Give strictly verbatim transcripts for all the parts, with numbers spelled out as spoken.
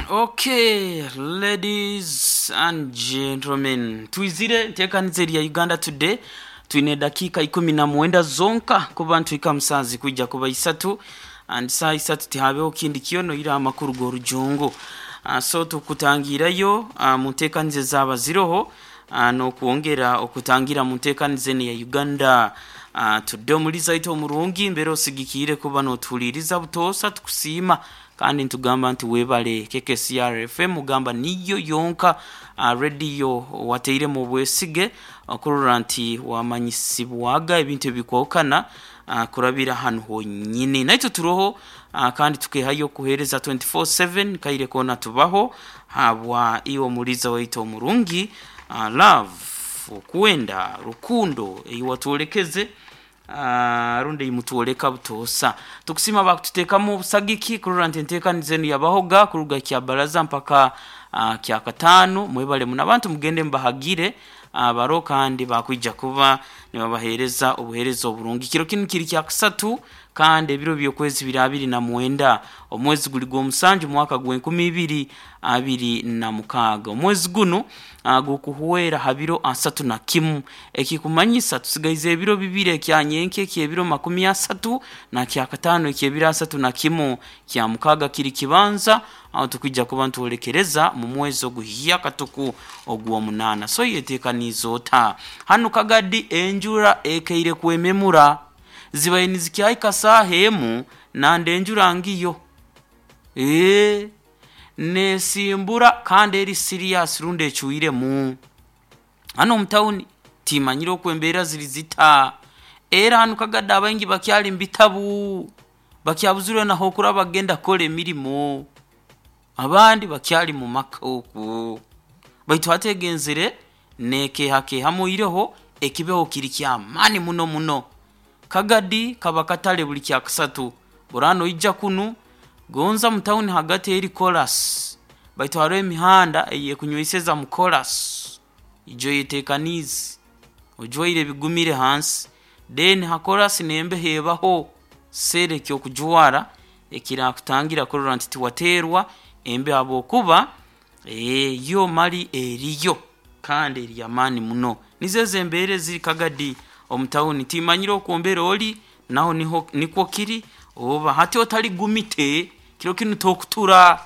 Okay, ladies and gentlemen, twizire nteekaniza erya Uganda Today. Twine dakiika ikumi na mwenda zonka kuba ntwika musanzi kwijja kuba isatu, and saa isatu tihabeho kindi kyono ira amakuru g'orujungu. Uh, so tukutangirayo uh, mu nteekaniza ezaba ziroho uh, n'okwongera okutangira mu nteekaniza eno ya Uganda uh, Today. Omuliza waitu omurungi mbere osigikiire kuba n'otuhuliiriza butoosa, tukusiima kandi ntugamba nti webale. K K C R F M ugamba niyo yonka uh, radio wateiremu obwesige okurora nti wamanyisibwaga ebintu ebikwawukana uh, kurabira hanu honyini. Naitwe turoho uh, kandi tukehayo okuheereza twenty-four seven kaire koona tubaho habwa iwe omuliza waitu omurungi, uh, love, okwenda rukundo eiwatwolekeze uh, rundi imutwoleka butoosa. Tukusima bakututeekamu obusagiki kurora nti enteekaniza enu yabahoga kuruga kya baraza mpaka uh, kya kataano. Mwebale muno abantu, mugende mubahagire baro kandi bakwija kuba nibabaheereza obuheereza oburungi. Kiro kinu kiri kya kusatu kandi ebiro by'okwezi biri abiri na mwenda, omwezi guli gw'omusanju, mwaka gw'enkumi ibiri abiri na mukaaga. Omwezi gunu uh, gukuhwera ha biro asatu na kimu, ekikumanyisa tusigaize ebiro bibiri, ekyanyenke ekyebiro makumi asatu na kyakataano ekyebiro asatu na kimu. Kya mukaaga kiri kibanza aho tukwija kuba ntwolekereza mu mwezi oguhya katuku ogw'omunaana. So yeteekaniize ota? Hanu Kagadi enjura ekeire kwememura, zibaire nizikyahika saaha emu nande enjura ngiyo ee nesimbura kandi eri serious rundi ecwiremu. Hano omu tawuni timanyire oku embeera ziri zita, era hanu Kagadi abaingi bakyali mu bitabu, bakyabuzirwe naho okuraba bagenda kukora emirimo, abandi bakyali mu maka oku, baitu hati egenzere nekehakehamu ireho ekibeho kiri kyamaani muno muno. Kagadi kaba katale buli kyakasatu burano oija kunu gonza mu tawuni hagati eri kolas, baitu hariho emihanda eyekunyweiseza mu kolas. Ijo yeteekaniize ojwaire ebigumire hansi, then ha kolas nembeho ebaho seera ekyokujwara ekirakutangira kurora nti tiwateerwa embeho, habwokuba ee yo mali eriyo kandi eri y'amaani muno. Nizo ezo embeera eziri Kagadi omu tawuni. Timanyire oku mbere ori naho niho nikwo kiri oba hati otaligumite kiro kinu tokutura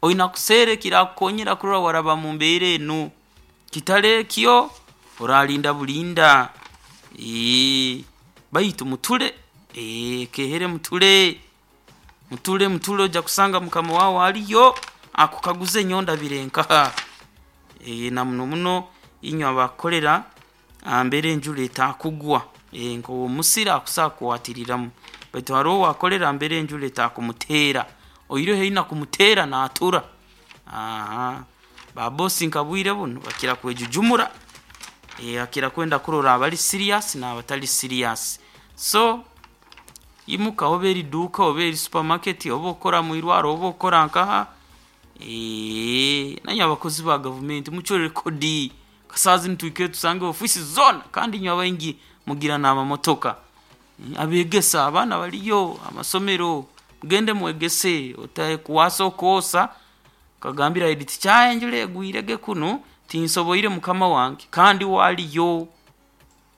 oina kuseera ekirakukonyera kurora waraba mu mbeera enu. Kitali ekyo oralinda bulinda. Ee baitu muture, ee kehere muture, muture, muture, ojja kusanga mukama wawe aliyo akukaguze nyondabire nkaha. Ee na muno muno inywe abakukolera mbere enjura etakugwa, ee nk'owomusiri akusobola kukwatiriramu, baitu haroho owakolera mbere enjura etakumuteera, oihireho eine kumuteera naatura. Aha babosi nka bwire bunu bakira kwejujumura, ee akira kwenda kurora abali serious n'abatali serious. So imuka, oba eri duuka, oba eri supermarket, oba okora mwirwaro, oba okora nkaha, ee nanywe abakozi ba gavumenti mucwere kodi kasaaha zinu tuhikire tusange ofiisi zoona, kandi inywe abaingi mugira n'amamotoka. Abeegesa abaana baliyo amasomero, mugende mwegese, otakwasa okwosa okagambira head teacher, enjura egwirege kunu tinsoboire mukama wange, kandi we aliyo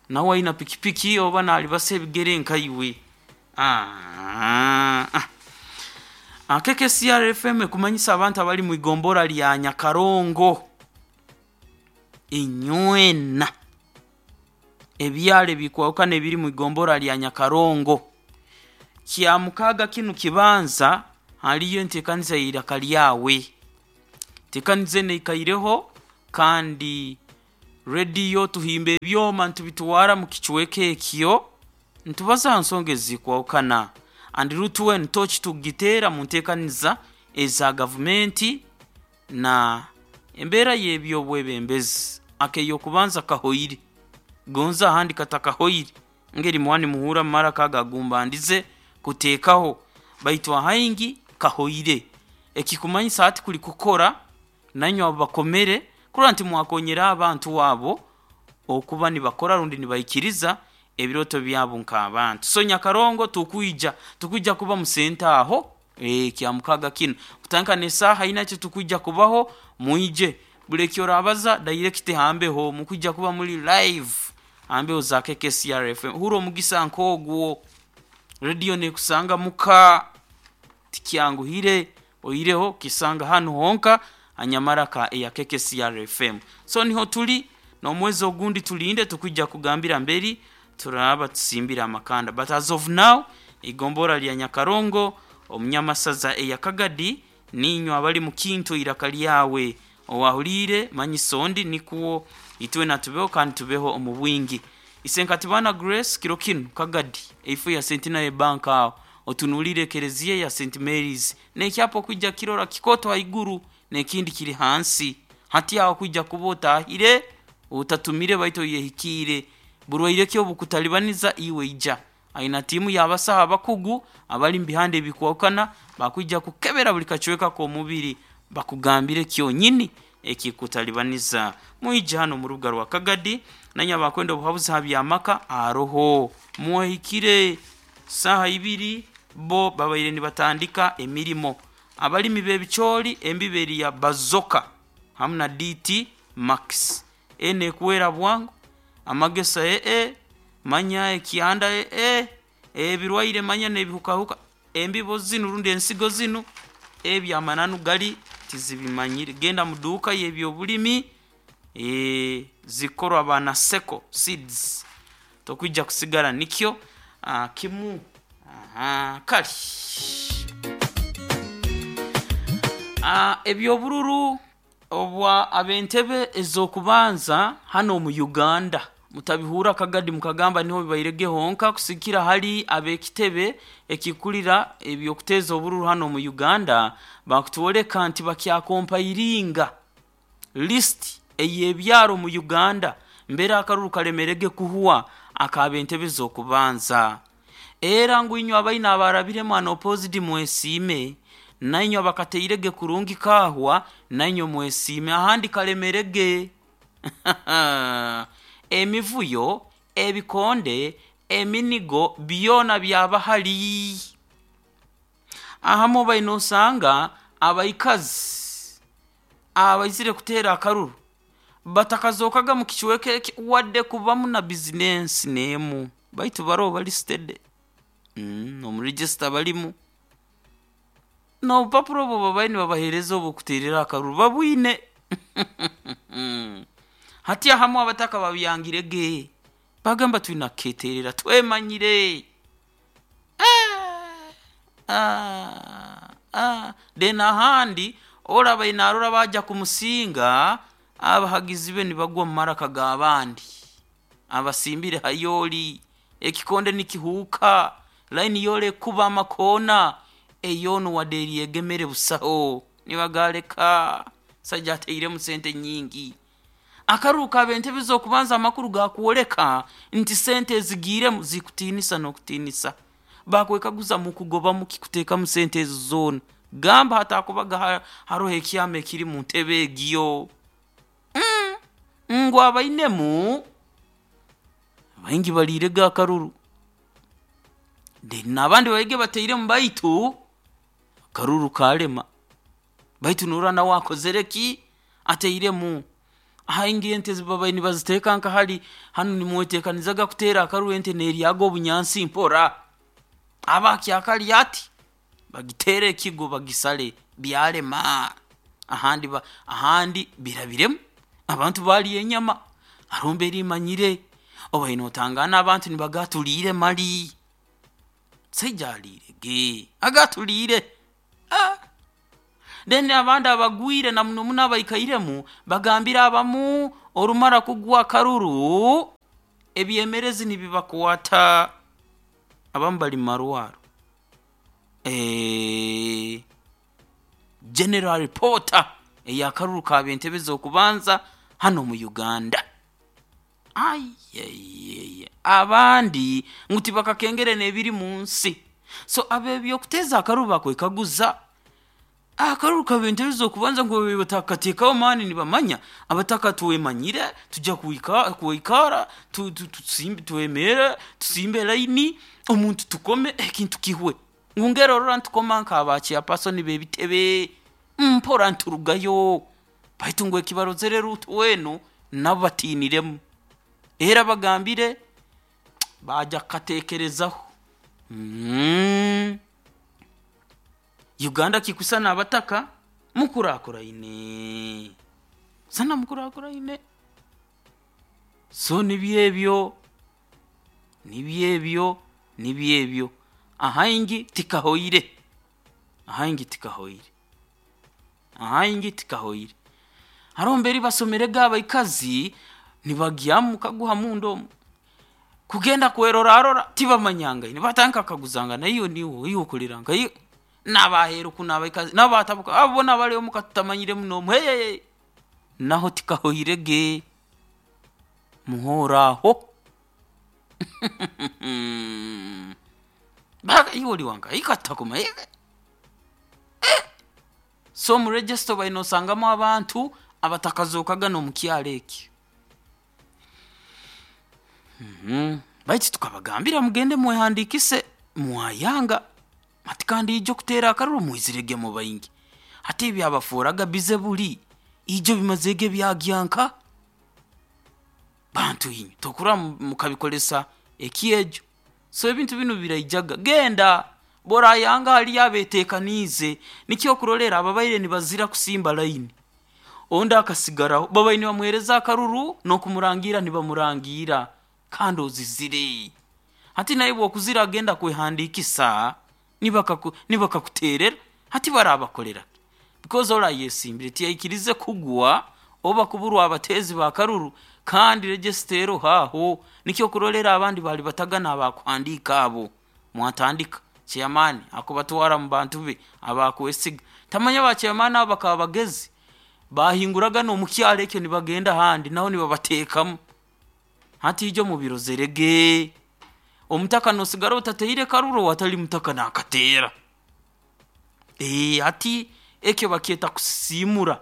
nawe aina pikipiki oba nalibasa ebigere nkaiwe. Ah, K K C R F M ekumanyisa abantu abali mu igombora lya Nyakarongo inywena, ebyaro ebikwahukana ebiri mu igombora lya Nyakarongo, kya mukaaga kinu kibanza haliyo enteekaniza y'eiraka lyawe. Enteekaniza enu eikaireho kandi rediyo tuhimba ebyoma ntubitwara mu kicweka ekyo ntubaza ha nsonga ezikwahukana, and rutuwe tochi tugiteera mu nteekaniza eza gavumenti na embeera y'ebyobwebembezi. Ak'eyokubanza kahoire, gonza ahandi katakahoire ngeri muba nimuhuura mumaraka ago agumbandize kuteekaho, baitu ahaingi kahoire, ekikumanyisa hati kuli kukora nanywe abo bakomere kurora nti mwakonyera abantu abo okuba nibakora rundi nibaikiriza ebirooto byabo nk'abantu. So Nyakarongo tukwija tukwija kuba mu senta aho. e, kya mukaga kinu kutandika n'esaaha ina ekyo tukwijja kubaho. Mwije buli ekyorabaza direct hambeho, mukwijja kuba muli live hambeho za K K C R F M. Hura omugisa nk'ogwo, radio nekusanga muka tikyanguhire, oireho kisanga hanu honka anyamaraka eya K K C R F M. So niho tuli n'omwezi ogundi tulinde tukwijja kugambira mberi turaba tusimbira amakanda, but as of now igombora lya Nyakarongo omunyamasaza eya Kagadi ninywa abali mukinto iraka lyawe owahulire manyisondi nikuwo itwe natubeho kandi tubeho omu bwingi. Isenkatibana Grace kiro kinu Kagadi eifu ya Centenary Bank aho otunulire ekereziya ya Saint Mary's nekyapo kwijja kirora kikoto haiguru nekindi kiri hansi hati aho kwijja kuba otahire utatumire baito yehikire burwaire kyo bukutalibaniza iwe ija aina timu y'abasaha abakugu abali mbihande ebikwokana bakwijja kukebera buli kacweka k'omubiri bakugambire kyonyini ekikutalibaniza. Mwije hano mu rubuga rwa Kagadi nanya bakwenda obuhabuzi ha byamaka aroho muhikire saha ibiri bo babaire nibatandika emirimo. Abalimi b'ebicoori embiberi ya Bazoka hamu na D T Max ene kuwera bwangu amagesa ee manya ekyanda ee ebirwaire manya n'ebihukahuka embibo zinu rundi ensigo zinu ebyamananu gali tizibimanyire. Genda muduuka y'ebyobulimi e, zikorwa bana Seko Seeds tokwijja kusigara nikyo a, kimu. Aha, kali ebyobururu obwa abentebe ezokubanza hano mu Uganda mutabihura Kagadi mukagamba niho bibairege honka kusikira hali abekitebe ekikulira ebyokuteza obururu hano mu Uganda bakutwoleka nti bakyakompairinga list eyebyaro mu Uganda mbere akaruru kalemerege kuhuwa akabentebe zokubanza. Era ngwinywa abaina abarabiremu an opposite mwesime nainywa bakateirege kurungi kahwa nainywa mwesime ahandi kalemerege emivuyo ebikonde eminigo byona byabahali. Ahamo bainosanga abaikazi abaizire kutera akaruru batakazokaga mu kichweke wadde kubamu na business nemu baitu baro bali steady mm, omu register balimu no bupapuro bo babaini babahereza obukuterera akaruru babwine hati ahamu abataka babyangirege bagamba twina keterera twemanyire ah, ah, ah. Then ahandi oraba inarora baja kumusinga abahagizi be nibagwa mu maraka g'abandi abasimbire hayoli ekikonde nikihuka line yole kuba amakona eyono waderi egemere busaho nibagaleka sajja ateiremu sente nyingi. Akaruka abentebe zokubanza amakuru gakuoleka nti sente ezigiremu zikutinisa n'okutinisa bakwekaguza mu kugoba mu kikuteekamu sente ezo zoona gamba hatakubaga haroho ekyama ekiri mu ntebe egyo mm. Ngu abainemu baingi balirega akaruru then n'abandi baige bateiremu baitu akaruru kalema baitu nurana wakozereki ateiremu ahaingi ente zibabaini baziteeka nka hali hanu nimwetekanizaga kutera akaruru ente neryaga obunyansi mpora abakyakali ati bagitere ekigo bagisale byalema ahandi ba, ahandi birabiremu abantu bali enyama arombe rimanyire obaino otangana abantu nibagatulire mali sejalirege agatulire ah. Then abandi abagwire na muno muno abaikairemu bagambira abamu orumara kugwa karuru ebyemerezi nibibakwata abamu bali marwaro. Eh, General Reporter eyakaruru ka bentebe zokubanza hano mu Uganda. Ayeyeye abandi nguti bakakengere nebiri munsi. So abebyo kuteza akaruru bakwekaguza akaruru ka bentebe zokubanza ngo batakateekaho mani nibamanya abataka tuwemanyire tujja kuika kuikara tu, tu, tusimbe tuwemere tusimbe line omuntu tukome ekintu kihwe. Ngungera orora ntukoma nk'aba chairperson b'ebitebe mpora nturugayo, baitu ngu ekibarozere Ruth wenu nabo batiiniremu, era bagambire baja kukateekerezaho. Mm. Uganda kikusana abataka mukurakuraine sana, mukurakuraine. So nibyebyo nibyebyo nibyebyo ahaingi tikahoire, ahaingi tikahoire, ahaingi tikahoire. Haroho mberi basomerege abaikazi nibagyamu kaguha munda omu kugenda kwerorarora tibamanyangaine, batandika kukaguzangana, iwe niwe iwe okolera nka iwe n'abaheeru kunu abaikazi nabo batabuka, abo boona bali omuka tutamanyire muno omu, hey, naho tikahoirege muhooraho. Baka iwe oli wanka ikatakumanya. Eh, so mu register baine osangamu abantu abatakazookaga n'omu kyaro eki. Mm-hmm. Baitu tukabagambira mugende mwehandiikise, mwayanga. Hati kandi ijo kuteera akaruru mwizirege mu baingi, hati ebyabaforaga bize buli ijo bimazege byagyanka bantu inywe tokura mukabikolesa ekyejo. So ebintu binu biraijaga, genda borayanga haliyo abeteekaniize. Nikyo okurolera ababaire nibazira kusimba layini, ondi akasigaraho babaire nibamuheereza akaruru n'okumurangira nibamurangira, kandi ozizire. Hati naye bwokuzira agenda kwehandiikisa nibakakuterera, hati barabakolera because orayesimbire tiyaikirize kugwa oba kuburwa abateezi bakaruru, kandi register haho. Nikyo kurolera abandi bali batagana abakuhandiika abo mwatandika chairman akubatwara mu bantu be abakwesiga. Tamanya ba chairman abo bakaba bagezi, bahinguraga n'omukyaro ekyo nibagenda handi naho nibabateekamu. Hati ijo mubirozerege, omutaka nosigara otateire karuru, watali mutaka nakateera. Ee, hati ekyo bakyeta kusisimura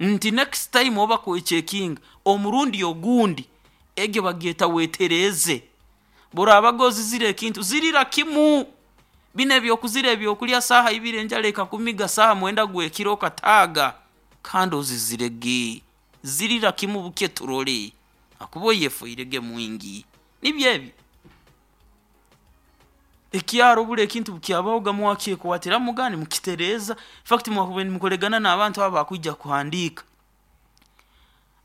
nti next time oba kwechekinga omurundi ogundi, egyo bagyeta wetereze. Borabaga ozizire ekintu zirira kimu, bino ebyokuzira ebyokulya saaha ibiri enjara ekakumiga saaha mwenda gwekiro okataaga, kandi ozizirege, zirira kimu buke turole akuba oyefoirege mwingi. Nibyo ebyo ekyaro buli ekintu bukyabahoga mwakyekwatiramu gani mukitereeza. Infact mwakubaire nimukoregana n'abantu abo bakwija kuhandiika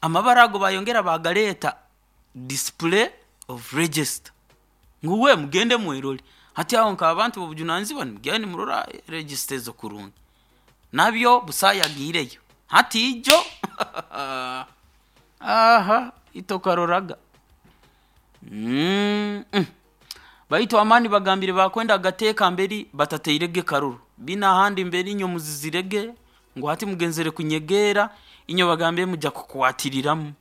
amabara ago, bayongera bagaleeta display of register ngu we mugende mwerole. Hati aho nk'abantu b'obujunanizibwa nimugenda nimurora register ezo kurungi, nabyo busayagiireyo hati ijo. Aha itokaroraga. Mm -mm. Baitu amani bagambire bakwenda agateeka mberi batateirege karuru bina ahandi mberi inyo muzizirege ngu hati mugenzere kunyegeera inyo bagambire mujja kukwatiriramu.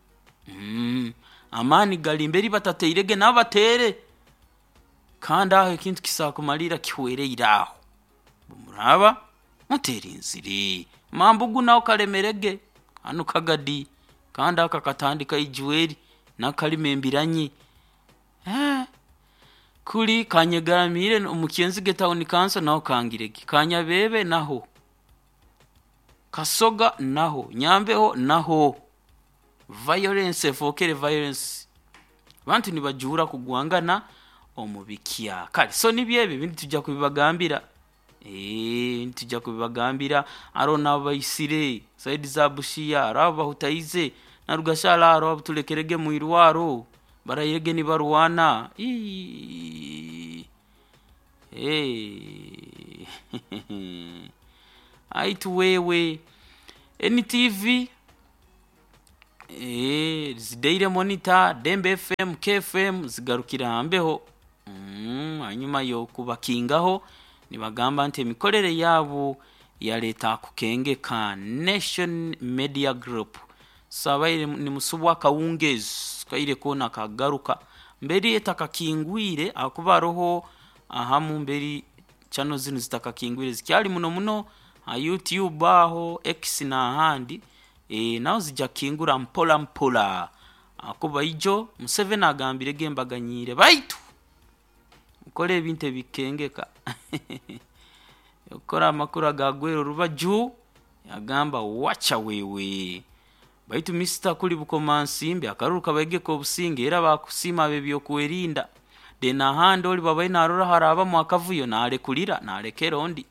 Mm. Amaani gali mberi batateirege nabo bateere, kandi aho ekintu kisakumalira kihwereire aho bumuraba muterinzire mambugu naho kalemerege hanu kagadi, kandi aka katandika ijweri nakalima embiranyi. Eh, kuli kanyegaramire omukyenzige town council naho kangirege, kanyabebe naho, kasoga naho, nyambeho naho, violence efokere violence, abantu nibajuura kugwangana omu bikya. Kale so nibyo ebyo ebintu tujja kubibagambira, ee tujja kubibagambira. Aro nabaisire saidi za Busia, aro abo bahutaize narugashara, aro abutulekerege mwirwaro barayirege nibarwana. Ii hey. Aitu wewe N T V, eh, Daily Monitor, Dembe F M, K F M zigarukira hambeho. Mm, hanyuma yo kubakingaho nibagamba nti emikorere yabo ya leta kukengeka Nation Media Group. Sabaire ni musubwa kawungezi kaire kona kagaruka mberi etakakingwire akuba roho ahamu mberi channel zinu zitakakingwire zikyali muno muno ha YouTube aho X na ahandi, e, naho zijja kingura mpola mpola akuba ijo Museveni agambire gembaganyire baitu Nkora ebintu ebikengeka. Okukora amakuru agagwera orubaju yagamba wacha wewe. Baitu Mister Kuli Bukomansimbi akaruru kabaigeka obusinge era bakusiima ab'ebyokwerinda. Then ahandi oli babaire narora harabamu akavuyo nalekulira nalekera ondi.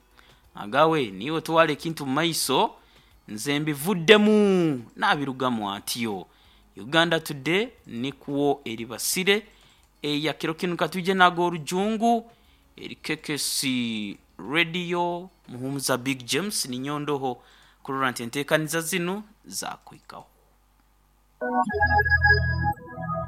Agawe niiwe twara ekintu mu maiso nze mbivuddemu nabirugamu atyo. Uganda Today nikwo eribasire eya kiro kinu katwije nago orujungu eri K K C Radio. Muhumuza Big James ninyondoho kurora nti enteekaniza zinu zakwikaho.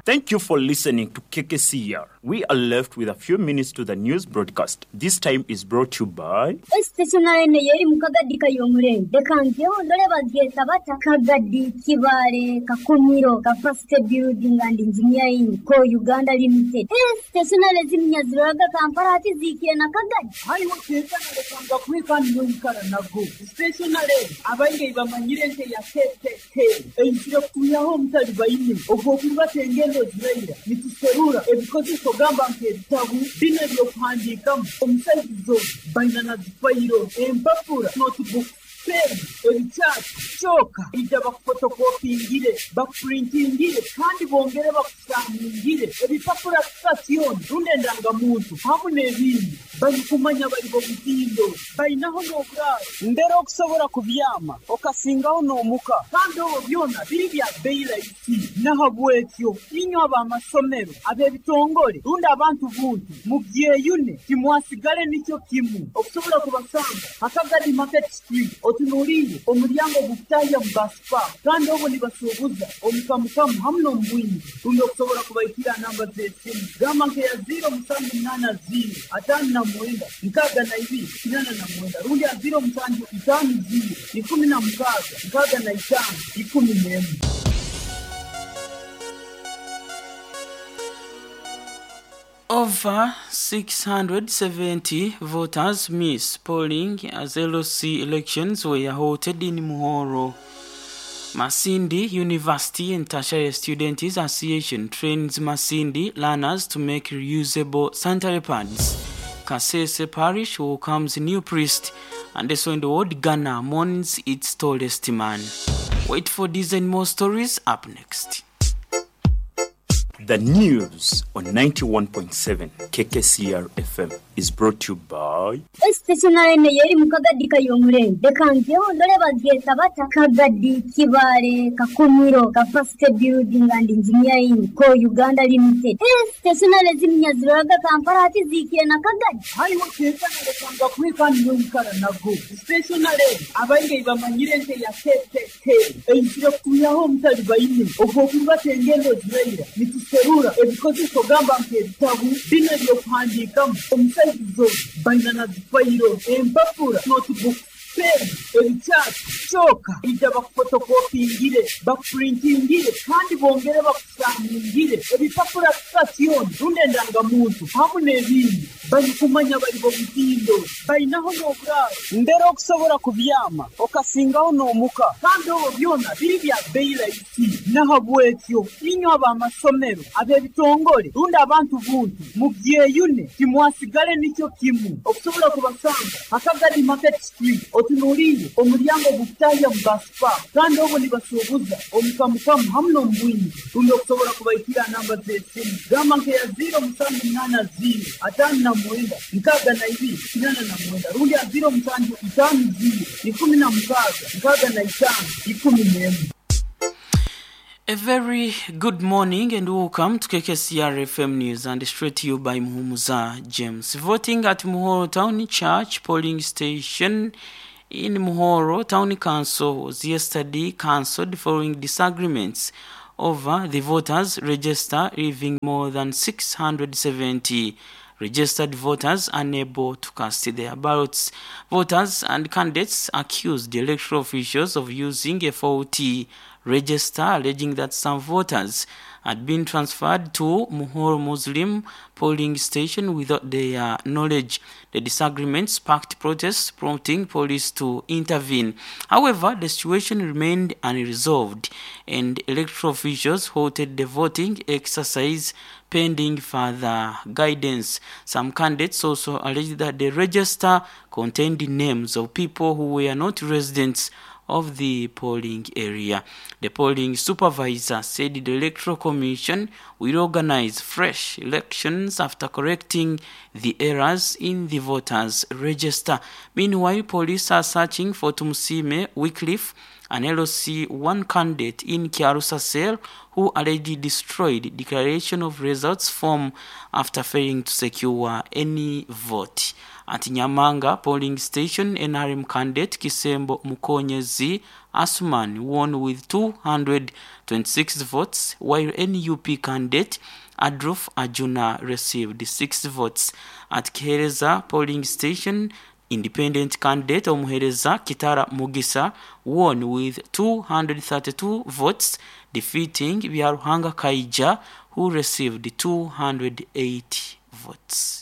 Thank you for listening to K K C R. We are left with a few minutes to the news broadcast. This time is brought to you by Stationery yeri mu Kagadi kayomurenge reka ngeho ndore babyeta bata Kagadi Kibale Kakumiro Capacity Building and Engineering Co Uganda Limited. Stationery ziminyaziraga Kampala hati zikire na Kagadi. Hariho tekana kwikani noikara nago stationery abaingi bamanyire nte ya K K K eizire kuyaho omutali baine ogwokurubata engendo ziraira nituserura ebikozeso gamba nk'ebitabu bino ebyokuhandiikamu omusaizizo baina na zifayiro empapura notebook pen ebikyati kyoka ija bakufotokopingire, bakupurintingire kandi bongere bakusaningire ebipapura sitasioni rundi endangamuntu hamu n'ebindi. Barikumanya bari bomutindo bainaho n'oburaaro mbere okusobora kubyama okasingaho n'omuka kandi obwo byona biri bya bei rahisi. Nahabwekyo inywe ab'amasomero ab'ebitongore rundi abantu buntu mubyeyune timwasigale nikyo kimu. Okusobola kubasanga Hakagadi Market Street otunuliire omulyango gukutahya mu Baspa kandi obwo nibasuubuza omukamukamu hamu n'omubwingi rundi okusobola kubaikira namba z'esimu gamba nkeya ziro musanju munaana ziro ataano na mwenda nkaaga na ibiri kinaana na mwenda rundi ya ziro musanju itaano ziro ikumi na mukaaga nkaaga na itaano ikumi n'emu. Over six hundred seventy voters missed polling as L C elections were halted in Muhoro. Masindi University and Tertiary Students Association trains Masindi learners to make reusable sanitary pads. Kasese Parish welcomes new priest, and also in the world, Ghana mourns its tallest man. Wait for these and more stories up next. The news on ninety-one point seven K K C R F M is brought to you by Stationery yeri mu Kagadi kayomurenge reka ngeho ndore babyeta bata Kagadi Kibale Kakumiro Capacity Building and Engineering Co Uganda Limited. Stationery ziminyaziraga Kampala hati zikire na Kagadi. Hariho tekana lekanga kwikani noikara nago stationery abaingi bamanyire nte ya K K K eizire kuyaho omutali baine ogwokurubata engendo ziraira nituserura ebikozeso gamba nk'ebitabu bino ebyokuhandiikamu omusaizizo baina na zifayiro empapura notebook pen ebikyati kyoka ija bakufotokopingire, bakupurintingire kandi bongere bakusaningire ebipapura sitasioni rundi endangamuntu hamu n'ebindi. Barikumanya bari bomutindo bainaho n'oburaaro mbere okusobola kubyama okasingaho n'omuka kandi obwo byona biri bya bei rahisi. Nahabwekyo inywe ab'amasomero ab'ebitongore rundi abantu buntu mubyeyune timwasigale nikyo kimu. Okusobola kubasanga Hakagadi Market Street otunuliire omulyango gukutahya mu Baspa kandi obwo nibasuubuza omukamukamu hamu n'omubwingi rundi okusobola kubaikira namba z'esimu gamba nkeya ziro musanju munaana ziro ataano na mwenda nkaaga na ibiri kinaana na mwenda rundi ya ziro musanju itaano ziro ikumi na mukaaga nkaaga na itaano ikumi n'emu. A very good morning and welcome to K K C R F M News and straight to you by Muhumuza James. Voting at Muhoro Town Church polling station in Muhoro Town Council was yesterday cancelled following disagreements over the voters register, leaving more than six hundred seventy registered voters unable to cast their ballots. Voters and candidates accused the electoral officials of using a faulty register, alleging that some voters had been transferred to Muhoro Muslim polling station without their knowledge. The disagreement sparked protests, prompting police to intervene. However, the situation remained unresolved, and electoral officials halted the voting exercise pending further guidance. Some candidates also alleged that the register contained the names of people who were not residents of the polling area. The polling supervisor said the Electoral Commission will organize fresh elections after correcting the errors in the voters' register. Meanwhile, police are searching for Tumusime Wycliffe, an L C one candidate in Kiarusa cell who allegedly destroyed declaration of results form after failing to secure any vote. At Nyamanga polling station, N R M candidate Kisembo Mukonyezi Asuman won with two hundred twenty-six votes, while N U P candidate Adolf Ajuna received six votes. At Kihereza polling station, independent candidate Omuhereza Kitara Mugisa won with two hundred thirty-two votes, defeating Byaruhanga Kaija, who received two hundred eight votes.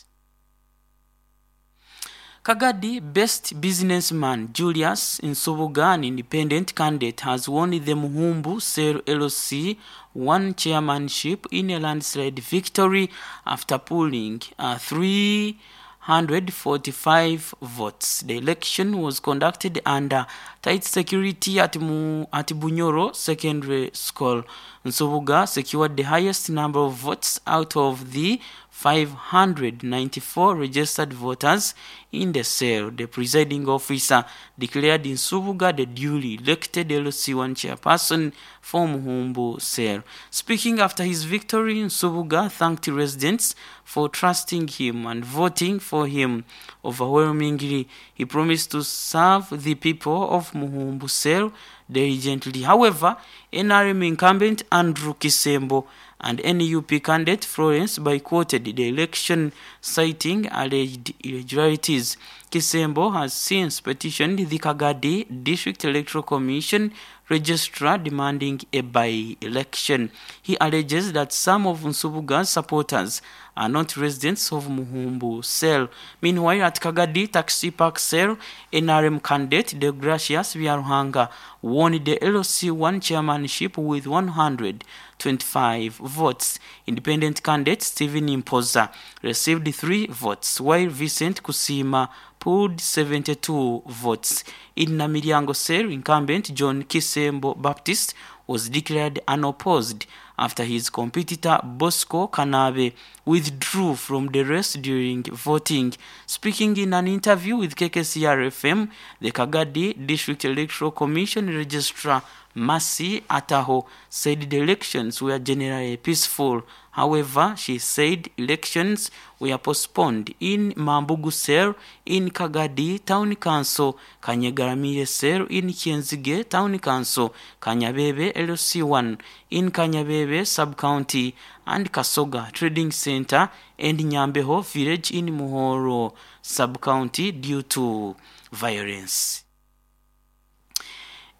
Kagadi best businessman Julius Nsubuga, an independent candidate, has won the Muhumbu Cell L C one chairmanship in a landslide victory after pulling uh, three hundred forty-five votes. The election was conducted under tight security at, Mu, at Bunyoro Secondary School. Nsubuga secured the highest number of votes out of the five hundred ninety-four registered voters in the cell. The presiding officer declared Nsubuga the duly elected L C one chairperson for Muhumbu cell. Speaking after his victory, Nsubuga thanked residents for trusting him and voting for him overwhelmingly. He promised to serve the people of Muhumbu cell diligently. However, N R M incumbent Andrew Kisembo and N U P candidate Florence boycotted the election, citing alleged irregularities. Kisembo has since petitioned the Kagadi District Electoral Commission registrar demanding a by-election. He alleges that some of Nsubuga's supporters are not residents of Muhumbu cell. Meanwhile, at Kagadi Taxi Park cell, N R M candidate Degracius Byaruhanga won the L C one chairmanship with one hundred twenty-five votes. Independent candidate Stephen Impoza received three votes, while Vincent Kusima pulled seventy-two votes. In Namiriango cell, incumbent John Kisembo Baptist was declared unopposed after his competitor Bosco Kanabe withdrew from the race during voting. Speaking in an interview with K K C R F M, the Kagadi District Electoral Commission Registrar Masi Ataho said the elections were generally peaceful. However, she said elections were postponed in Mambugu Cell in Kagadi Town Council, Kanyegaramire Cell in Kienzige Town Council, Kanyabebe L C one in Kanyabebe Sub-County, and Kasoga Trading Center and Nyambeho Village in Muhoro Sub-County due to violence.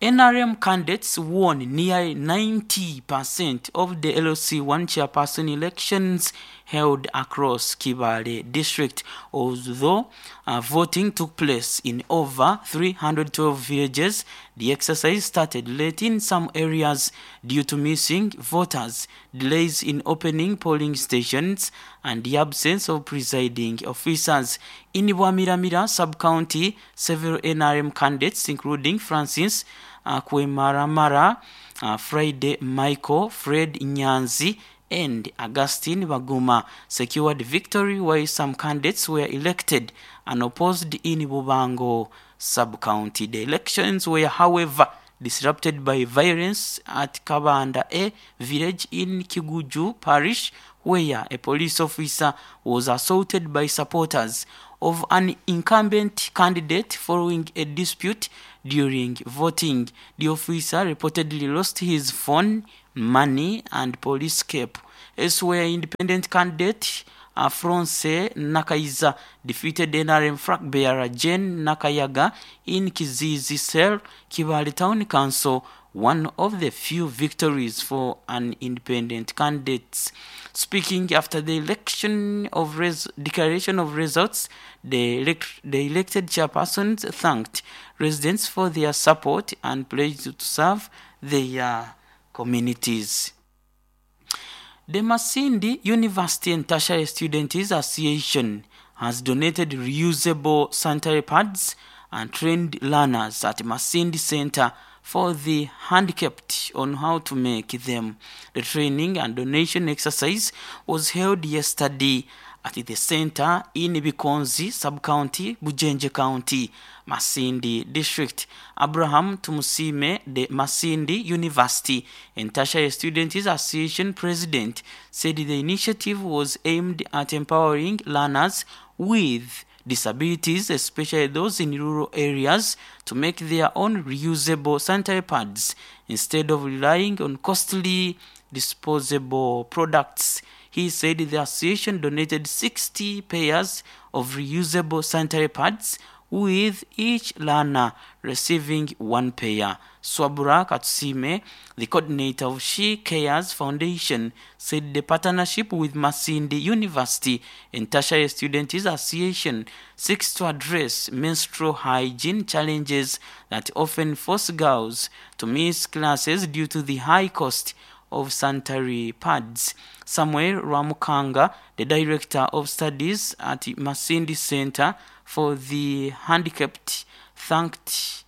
N R M candidates won nearly ninety percent of the L C one chairperson elections held across Kibale district, although uh, voting took place in over three hundred twelve villages. The exercise started late in some areas due to missing voters, delays in opening polling stations, and the absence of presiding officers. In Bwamiramira sub-county, several N R M candidates, including Francis uh, Kwemaramara, uh, Friday Michael, Fred Nyanzi, and Augustine Baguma, secured victory, while some candidates were elected and opposed in Bubango sub-county. The elections were, however, disrupted by violence at Kabanda A village in Kiguju parish, where a police officer was assaulted by supporters of an incumbent candidate following a dispute during voting. The officer reportedly lost his phone, money, and police cap. Elsewhere, independent candidate Afronse Nakaiza defeated N R M flag bearer Jane Nakayaga in Kizizi Cell, Kibale Town Council, one of the few victories for an independent candidate. Speaking after the election of res- declaration of results, the, elect- the elected chairpersons thanked residents for their support and pledged to serve their communities. The Masindi University and Tertiary Students Association has donated reusable sanitary pads and trained learners at Masindi Center for the Handicapped on how to make them. The training and donation exercise was held yesterday at the center in Bikonzi sub-county, Bujenje County, Masindi District. Abraham Tumusime, the Masindi University and Tertiary Students Association president, said the initiative was aimed at empowering learners with disabilities, especially those in rural areas, to make their own reusable sanitary pads instead of relying on costly disposable products. He said the association donated sixty pairs of reusable sanitary pads, with each learner receiving one pair. Swabura Katsime, the coordinator of She Cares Foundation, said the partnership with Masindi University and Tertiary Students Association seeks to address menstrual hygiene challenges that often force girls to miss classes due to the high cost of sanitary pads. Samuel Ramukanga, the director of studies at Masindi Center for the Handicapped, thanked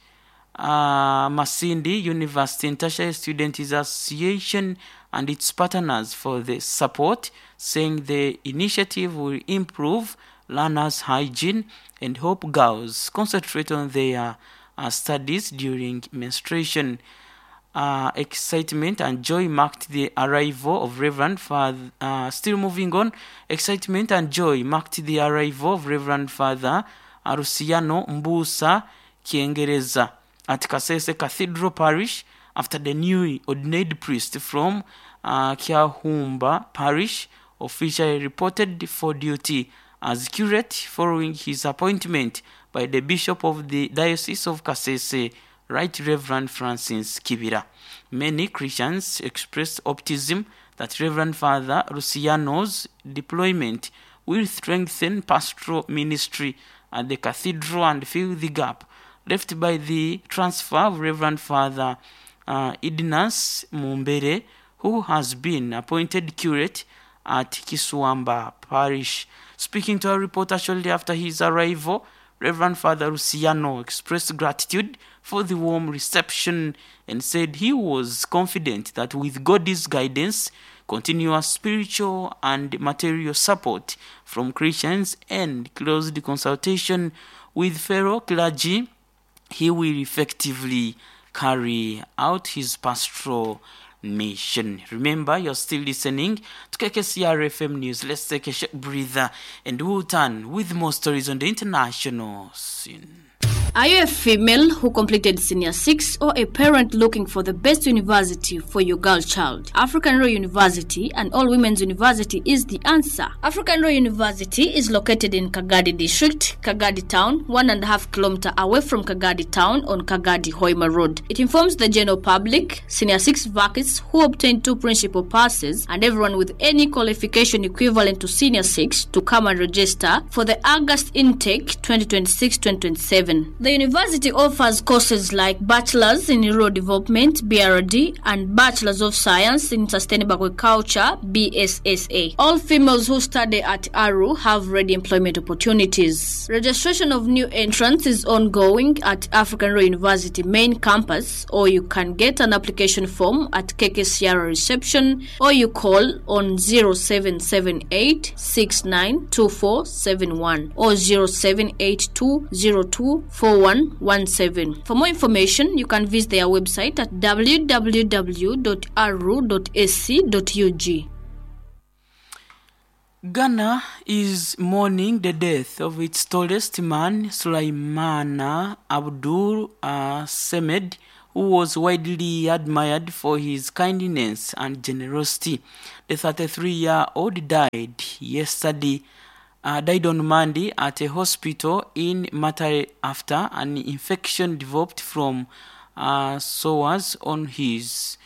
uh, Masindi University and Tertiary Students Association and its partners for the support, saying the initiative will improve learners' hygiene and help girls concentrate on their uh, studies during menstruation. Uh, excitement and joy marked the arrival of Reverend Father. Uh, still moving on, excitement and joy marked the arrival of Reverend Father Arusiano Mbusa Kiengereza at Kasese Cathedral Parish after the newly ordained priest from uh, Kiahumba Parish officially reported for duty as curate following his appointment by the Bishop of the Diocese of Kasese, Right Reverend Francis Kibira. Many Christians expressed optimism that Reverend Father Luciano's deployment will strengthen pastoral ministry at the cathedral and fill the gap left by the transfer of Reverend Father uh, Idnas Mumbere, who has been appointed curate at Kiswamba Parish. Speaking to a reporter shortly after his arrival, Reverend Father Luciano expressed gratitude for the warm reception and said he was confident that with God's guidance, continuous spiritual and material support from Christians, and close consultation with fellow clergy, he will effectively carry out his pastoral mission. Remember, you're still listening to K K C R F M News. Let's take a short breather and we'll turn with more stories on the international scene. Are you a female who completed Senior six or a parent looking for the best university for your girl child? African Royal University and All Women's University is the answer. African Royal University is located in Kagadi District, Kagadi Town, one and a half kilometer away from Kagadi Town on Kagadi Hoima Road. It informs the general public, Senior six vacancies who obtained two principal passes, and everyone with any qualification equivalent to Senior six to come and register for the August intake twenty twenty-six twenty twenty-seven. The university offers courses like Bachelor's in Rural Development, B R D, and Bachelor's of Science in Sustainable Agriculture, B S S A. All females who study at A R U have ready employment opportunities. Registration of new entrants is ongoing at African Royal University main campus, or you can get an application form at K K C R reception, or you call on zero seven seven eight six nine two four seven one or zero seven eight two zero two four one one seven. For more information, you can visit their website at w w w dot a r u dot a c dot u g. Ghana is mourning the death of its tallest man, Sulaimana Abdul uh, Semed, who was widely admired for his kindness and generosity. The thirty-three-year-old died yesterday. Uh, died on Monday at a hospital in Matare after an infection developed from uh, sores on his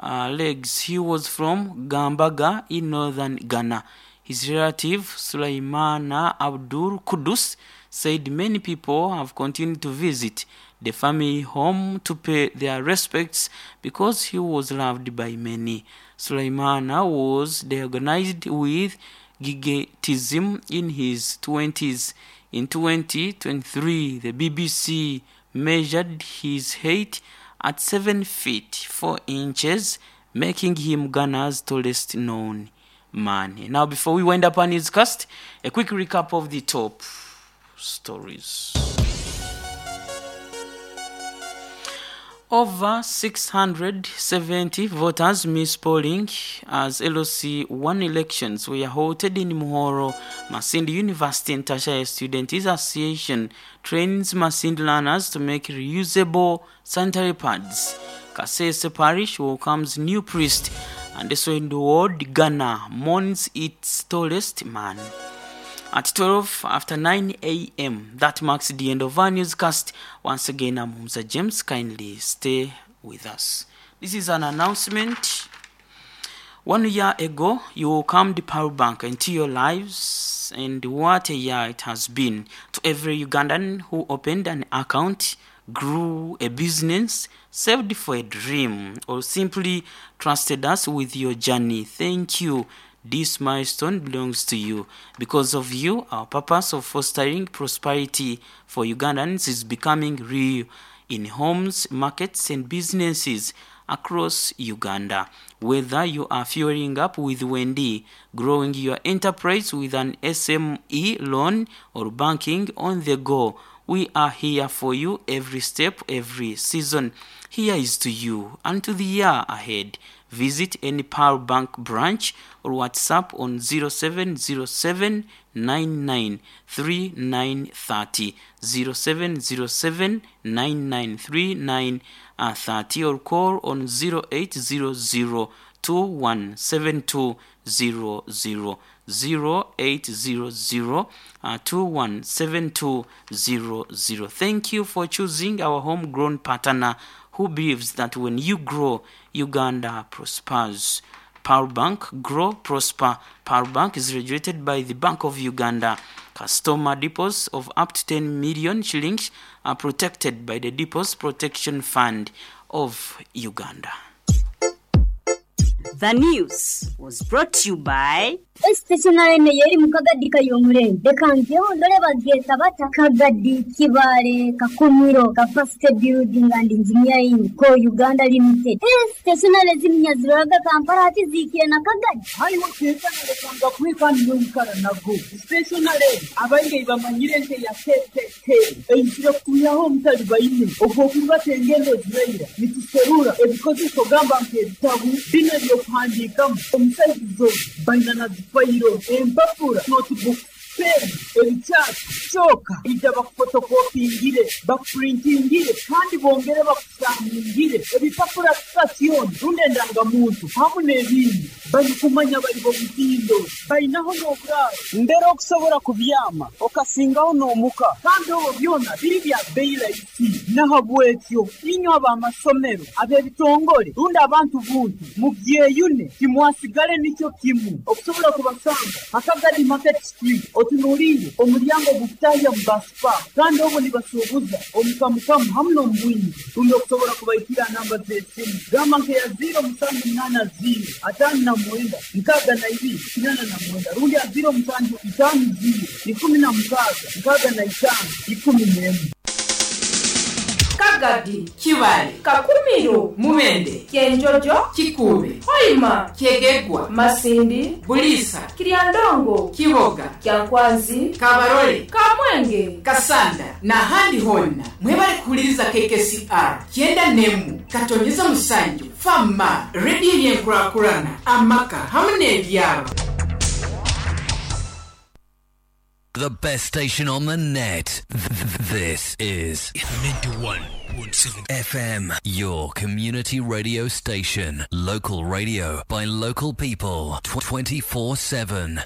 uh, legs. He was from Gambaga in northern Ghana. His relative, Sulaimana Abdul Kudus, said many people have continued to visit the family home to pay their respects because he was loved by many. Sulaimana was diagnosed with gigantism in his twenties. In twenty twenty-three, the B B C measured his height at seven feet four inches, making him Ghana's tallest known man. Now, before we wind up our newscast, a quick recap of the top stories. Over six hundred seventy voters missed polling as L C one elections were halted in Muhoro. Masindi University and Tertiary Students Association trains Masindi learners to make reusable sanitary pads. Kasese Parish welcomes new priest, and so in the world, Ghana mourns its tallest man. At twelve after nine a m, that marks the end of our newscast. Once again, I'm Humza James. Kindly stay with us. This is an announcement. One year ago, you welcomed Pearl Bank into your lives, and what a year it has been to every Ugandan who opened an account, grew a business, saved for a dream, or simply trusted us with your journey. Thank you. This milestone belongs to you. Because of you, our purpose of fostering prosperity for Ugandans is becoming real in homes, markets, and businesses across Uganda. Whether you are fueling up with Wendy, growing your enterprise with an S M E loan, or banking on the go, we are here for you every step, every season. Here is to you and to the year ahead. Visit any Pearl Bank branch or WhatsApp on zero seven zero seven nine nine three nine three zero, zero seven zero seven nine nine three nine three zero, or call on zero eight zero zero two one seven two zero zero, zero eight zero zero two one seven two zero zero. Thank you for choosing our homegrown partner who believes that when you grow, Uganda prospers. Pearl Bank, grow, prosper. Pearl Bank is regulated by the Bank of Uganda. Customer deposits of up to ten million shillings are protected by the Deposit Protection Fund of Uganda. The news was brought to you by Stationary yeri mukagadi kayomurembe reka ndore bageta bata Kagadi Kibale Kakumiro Capacity Building and Engineering Co Uganda Limited. Stationary zimnyaziraga Kampala ati zikiye na Kagadi hayi wakeza nalekanga kwikani yoikara nago stationary abainge bamanyire nte ya K K K eyisire kuyaho omutali baine ogwokuba tengendo zireira nituserura ebikozeso gamba nk'ebitabu bino ebyokuhandiikamu omusaizo baina na fayiro empapura notebook pen ebikyatu kyoka ijja bakufotokopingire bakupurintingire kandi bongere bakusangingire ebipapura sitasioni rundi endangamuntu hamu n'ebindi balikumanya bali bomutindo balinaho n'oburaaro mbere okusobola kubyama okasingaho n'omuka kandi obwo byona biri bya bbeeyi rahisi nahabwekyo inywe ab'amasomero ab'ebitongole rundi abantu buntu mubyeyune timwasigale nikyo kimu okusobola kubasanga Akagadi Market Street otunuulire omulyango gukutahya mu basipa kandi obwo nibasuubuza omukamukamu hamu n'omubwingi rundi okusobola kubaikira namba z'esimu gamba nkeya ziro musanju munaana ziro ataano na mwenda nkaaga na ibiri kinana na mwenda rundi ya ziro musanju itaano ziro ikumi na mukaaga nkaaga na itaano ikumi n'emu. Kagadi, Kibale, Kakumiro, Mubende, Kyenjojo, Kikube, Hoima, Kyegegwa, Masindi, Bulisa, Kiryandongo, Kiboga, Kyankwanzi, Kabarole, Kamwenge, Kasanda n'ahandi honna mwebale kuwuliriza K K C R kyenda n'emu katonyeza musanju Fama rediyo y'enkulaakulana amaka hamu n'ebyalo. The best station on the net. This is ninety-one point seven F M, your community radio station. Local radio by local people twenty-four seven.